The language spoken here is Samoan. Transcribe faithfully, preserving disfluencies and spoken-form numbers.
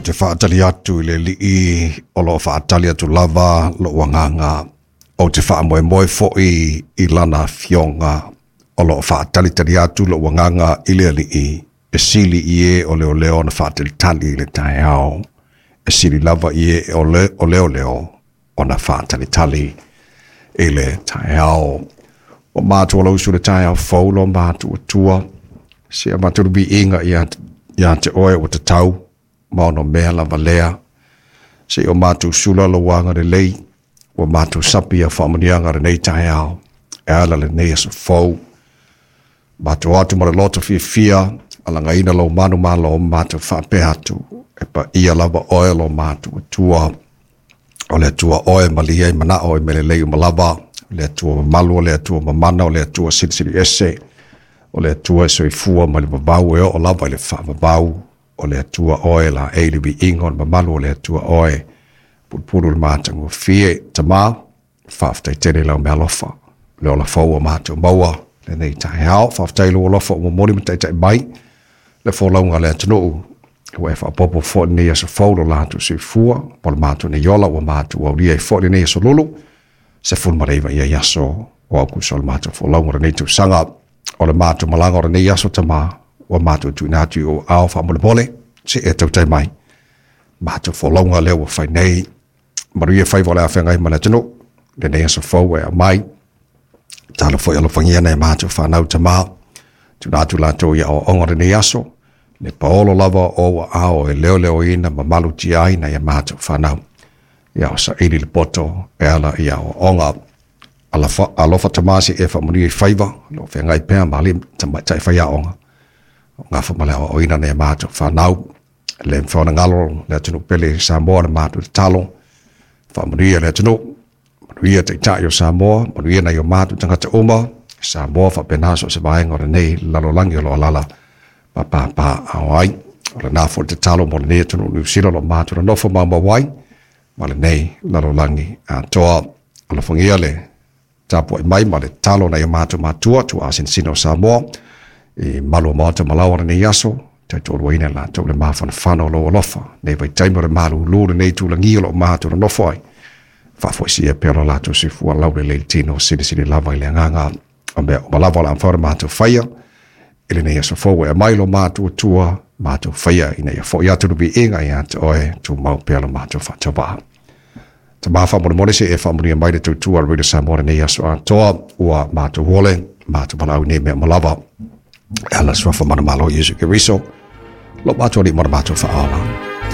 Ou te faatali atu i le Alii o loo faatali atu lava lou agaga. Ou te faamoemoe foi i lana afioga o loo faatalitali atu lou agaga i le Alii e sili i e o leoleo ona faatalitali i le taeao, e sili lava i e o le o leoleo ona faatalitali i le taeao. O matou lausu le taeao fou lo matou Atua, se avatu le viiga ia ia te oe ua tatau ma ono mea lava lea. Se o matou sula lou agalelei, ua matou sapi ia faamanuiaga lenei taeao, e ala lenei aso fou. Matou atu ma le loto fiafia, alagaina lou manumalo matou faapea atu, e paia lava oe lo matou Atua. O le Atua oe malie ai manao i mea lelei uma lava, o le Atua mamalu, o le Atua mamana, o le Atua silisili ese, o le Atua e soifua mai le vavau e oo lava i le faavavau, o le Atua oe la e le viiga o le mamalu, o le Atua oe pulupulu le matagofie. Tama, faafetai tele i lau meaalofa, le ola fou ua matou maua lenei taeao. Faafetai i lou alofa ua momoli ma taitai mai le folauga a le atunuu, ua e faaopoopo foi lenei aso fou lo latou soifua mo le matou nei ola ua matou aulia ai foi lenei aso lulu sefulu ma le iva ia i aso o Aukuso o le matou folauga o lenei tausaga. O le matou malaga o lenei aso Tama ua matou tuuina atu i ou aao faamolemole, se e tautai mai matou folauga lea ua fai nei. Manuia faiva o le afeagai ma le atunuu lenei aso fou e aumai. Talo foi alofagia nai matou fanau Tama, tuuina atu latou i aoaoga o lenei aso, le paolo lava o ou aao e leoleoina ma malutia ai nai a matou fanau. Ia o saili le poto e ala i aoaoga. Alofa Tama se e faamanuia i faiva, lo feagai pea ma alii tamaitai faiaoga. O gafa ma le aoaoina nai a matou fanau. Le mafai ona galo le atunuu pele Samoa le matou tatalo. Faamanuia le atunuu, manuia taitai o Samoa, manuia nai o matou tagata uma, Samoa faapena so o se vaega o lenei lalolagi o lo o alaala ma papaaao ai. O lena foi le tatalo mo lenei atunuu Niu Sila o lo o matou nonofo maumau ai ma lenei lalolagi atoa. Alofagia le tapuai mai ma le tatalo nai o matou matua tuaasinasina o Samoa i malu o maota ma laoa lenei aso, tautoaluaina i latou le mafanafana o lou alofa nei vaitaimi o le malūlū lenei tulagi o lo o matou nonofo ai. Faafoisia pea lo latou soifua laulelei le tino, silisili lava i le agaga o mea uma lava o le a mafai ona matou faia i lenei aso fou e aumai lo matou Atua, matou faia ina ia foi atu le viiga ia te oe, tumau pea lo matou faatauvaa. Tama faamolemole se e faamanuia mai le tautua a le Radio Samoa lenei aso atoa, ua matou ole, matou valaau i nei mea uma lava. E ala suafa manumalo Iesu Keriso, lo matou Alii ma le matou faaola.